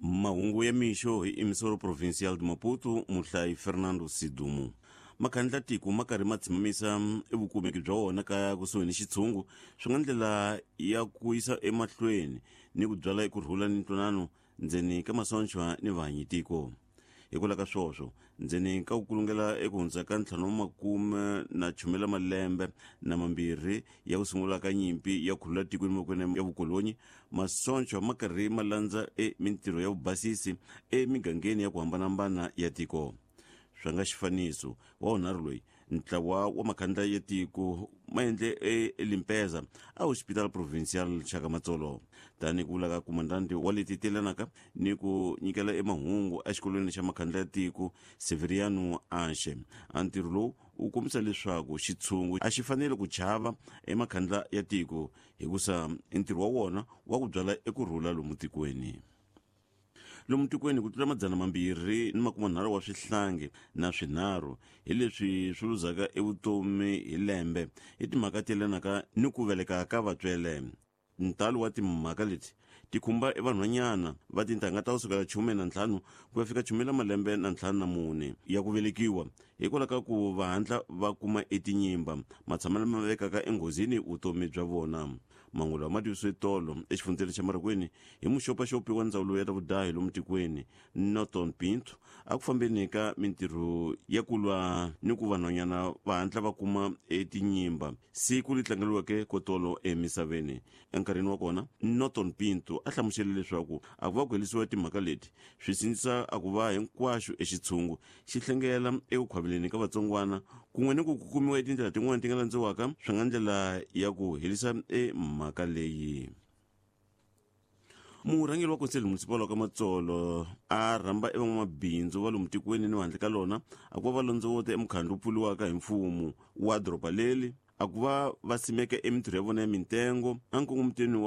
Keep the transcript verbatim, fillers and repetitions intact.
Mahungu ya mixo hi Emissoro Provincial de Maputo, muhlayi Fernando Sidumo. Makhandla tiko ma karhi ma tshimamisa evukumeki bya wona ka kusuhi ni xitshungu swi nga ndlela ya ku yisa emahlweni ni ku byala ekurhula ni ntwanano ndzeni ka masonchwa ni vahanyi tiko. Hikwalaho ka swoswo ndzeni ka ku kulungela eku hundza ka ntlhanu wa makume na chumela malembe na mambirhi ya ku sungula ka nyimpi ya khulula tiko emavokweni ya vukolonyi, masonchwa ma karhi ma landza e mintirho ya vubasisi emigangeni ya ku hambanahambana ya tiko. Swa nga xifaniso wa wunharhu loyi ntlawa wa makhandla ya tiko ma endle eLimpeza a Hospital Provincial Chaka Matsolo, tanihi ku vula ka komandante wa leti telanaka ni ku nyikela emahungu exikolweni xa makhandla ya tiko Severiano Anxe. A ntirho lowu wu kombisa leswaku xitshungu a xi fanele ku chava emakhandla ya tiko hikusa ntirho wa wona wa ku byala ekurhula lomu tikweni. Lomu tikweni ku tlula madzana mambirhi ni makume nharhu wa swihlangi na swinharhu hi leswi swi luzaka evutomi hi lembe hi timhaka ti yelanaka ni ku veleka ka vatswele. Ntalo wa timhaka leti ti khumba evanhwanyana va tintangha ta kusukela khume na ntlhanu ku ya fika khume la malembe na ntlhanu na mune ya ku velekiwa hikwalaho ka ku va hatla va kuma etinyimba matshamelo lama vekaka enghozini vutomi bya vona. Mahungu lawa ma tivisiwe tolo exifundzeni xa Marikweni hi muxopaxopi wa ndzawulo ya ta vudahi lomu tikweni Norton Pinto a ku fambeni ka mintirho ya ku lwa ni ku vanhwanyana va hatla va kuma etinyimba siku leri tlangeriweke ko tolo emisaveni. Enkarhini wa kona Norton Pinto a hlamusele leswaku a ku va ku herisiwa timhaka leti swi sindzisa a ku va hinkwaxo exitshungu xi hlengela eku khwaveleni ka vatsongwana kun'we ni ku kumiwa etindlela tin'wana ti nga landziwaka swi nga ndlela ya ku herisa emhaka leyi. Murhangeri wa Conselho Municipal wa ka Matsolo a rhamba evan'wamabindzu va lomu tikweni ni handle ka lona a ku va va londzovota emukhandlu wu pfuriwaka hi mfumo wa doroba leri a ku va va simeka emintirho ya vona ya mintengo enkongomitweni wa